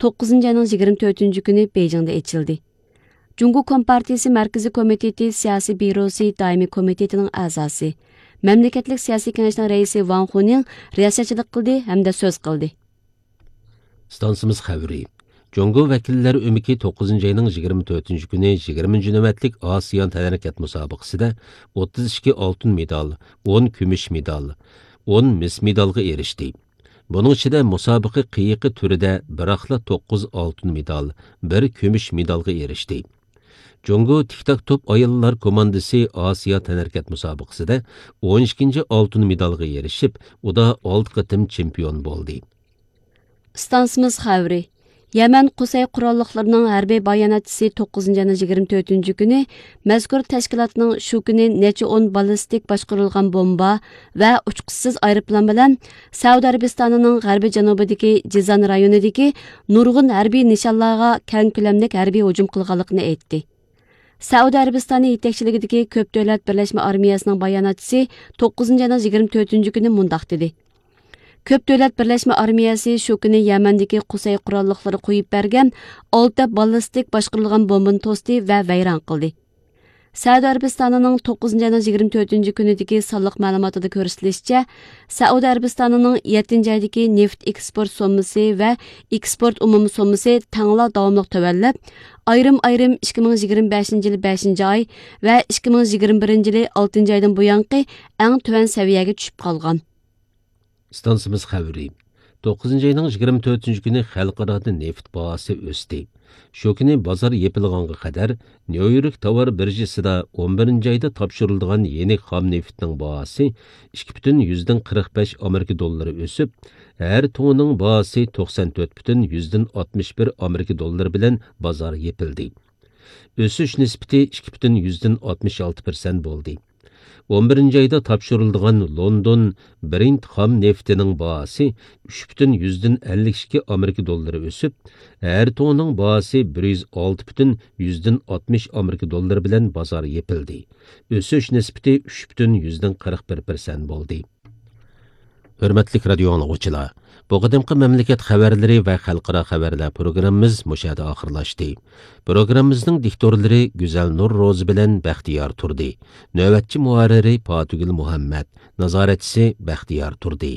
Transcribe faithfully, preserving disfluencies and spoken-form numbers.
توققۇزىنچى ئاينىڭ يىگىرمە تۆتىنچى كۈنى بېيجىڭدا ئېچىلدى. جۇڭگو كومپارتىيىسى مەركىزىي كومىتېتى سىياسىي بيۇروسى دائىمىي كومىتېتىنىڭ ئەزاسى، مەملىكەتلىك سىياسىي كېڭەشنىڭ رەئىسى ۋاڭ خۇنىڭ رىياسەتچىلىك قىلدى ھەمدە سۆز قىلدى. ئىستانسىمىز خەۋىرى. جۇڭگو ۋەكىللەر ئۆمىكى توققۇزىنچى ئاينىڭ يىگىرمە تۆتىنچى كۈنى يىگىرمىنچى نۆۋەتلىك ئاسىيان تەنھەرىكەت مۇسابىقىسىدە ئوتتۇز ئىككى ئالتۇن مېدال، ئون كۈمۈش مېدال، ئون مىس مېدالغا ئېرىشتى. بۇنىڭ ئىچىدە مۇسابىقە قېيىقى تۈرىدە بىراقلا توققۇز ئالتۇن مېدال، بىر كۈمۈش مېدالغا ئېرىشتى. جۇڭگو تىك تاك توپ ئاياللار كوماندىسى ئاسىيا تەنھەرىكەت مۇسابىقىسىدە ئون ئىككىنچى ئالتۇن مېدالغا ئېرىشىپ، ئۇدا ئالتە قېتىم چېمپىيون بولدى. ئىستانسىمىز خەۋىرى. يەمەن قۇسەي قوراللىقلىرىنىڭ ھەربىي باياناتچىسى توققۇزىنچى ئاينىڭ يىگىرمە تۆتىنچى كۈنى مەزكۇر تەشكىلاتنىڭ شۇ كۈنى نەچچە ئون باللىستىك باشقۇرۇلغان بومبا ۋە ئۇچقۇچىسىز ئايروپىلان بىلەن سەئۇدى ئەرەبىستانىنىڭ غەربىي جەنۇبىدىكى جىزان رايونىدىكى نۇرغۇن ھەربىي نىشانلارغا كەڭ كۆلەملىك ھەربىي ھۇجۇم قىلغانلىقىنى ئېيتتى. سەئۇدى ئەرەبىستانى يېتەكچىلىكىدىكى كۆپ دۆلەت بىرلەشمە ئارمىيەسىنىڭ باياناتچىسى توققۇزىنچى ئاينىڭ يىگىرمە تۆتىنچى كۈنى مۇنداق دېدى: كۆپ دۆلەت بىرلەشمە ئارمىيەسى شۇ كۈنى يەمەندىكى قۇسەي قوراللىقلىرى قويۇپ بەرگەن ئالتە باللىستىك باشقۇرۇلغان بومبىنى توستى ۋە ۋەيران قىلدى. سەئۇدى ئەرەبىستانىنىڭ توققۇزىنچى ئاينىڭ يىگىرمە تۆتىنچى كۈنىدىكى سانلىق مەلۇماتىدا كۆرسىتىلىشىچە، سەئۇدى ئەرەبىستانىنىڭ يەتتىنچى ئايدىكى نېفىت ئېكسپورت سوممىسى ۋە ئېكسپورت ئومۇمىي سوممىسى تەڭلا داۋاملىق تۆۋەنلەپ، ئايرىم-ئايرىم ئىككى مىڭ يىگىرمە بەشىنچى يىلى بەشىنچى ئاي ۋە ئىككى مىڭ يىگىرمە بىرىنچى يىلى ئالتىنچى ئايدىن بۇيانقى ئەڭ تۆۋەن سەۋىيەگە چۈشۈپ قالغان. ئىستانسىمىز خەۋىرى. توققۇزىنچى ئاينىڭ يىگىرمە تۆتىنچى كۈنى خەلقئارادا نېفىت باھاسى ئۆستى. شۇ كۈنى بازار يېپىلغانغا قەدەر نيۇ يورك تاۋار بىرژىسىدا ئون بىرىنچى ئايدا تاپشۇرۇلىدىغان يېنىك خام نېفىتنىڭ باھاسى ئىككى پۈتۈن يۈزدىن قىرىق بەش ئامېرىكا دوللىرى ئۆسۈپ، ھەر توننىنىڭ باھاسى توقسان تۆت پۈتۈن يۈزدىن ئاتمىش بىر ئامېرىكا دوللىرى بىلەن بازار يېپىلدى. ئۆسۈش نىسبىتى ئىككى پۈتۈن يۈزدىن ئاتمىش ئالتە پىرسەنت بولدى. ئون بىرىنچى ئايدا تاپشۇرۇلىدىغان لوندون برېنت خام نېفىتىنىڭ باھاسى ئۈچ پۈتۈن يۈزدىن ئەللىك ئىككى ئامېرىكا دوللىرى ئۆسۈپ، ھەر توننىنىڭ باھاسى بىر يۈز ئالتە پۈتۈن يۈزدىن ئاتمىش ئامېرىكا دوللىرى بىلەن بازار يېپىلدى. ئۆسۈش نىسبىتى ئۈچ پۈتۈن يۈزدىن قىرىق بىر پىرسەنت بولدى. ھۆرمەتلىك رادىيو ئاڭلىغۇچىلار، بۇ قېتىمقى مەملىكەت خەۋەرلىرى ۋە خەلقئارا خەۋەرلەر پروگراممىمىز مۇشۇ يەردە ئاخىرلاشتى. پروگراممىمىزنىڭ دىكتورلىرى گۈزەلنۇر روزى بىلەن بەختىيار تۇردى. نۆۋەتچى مۇھەررىرى پاتىگۈل مۇھەممەت. نازارەتچىسى بەختىيار تۇردى.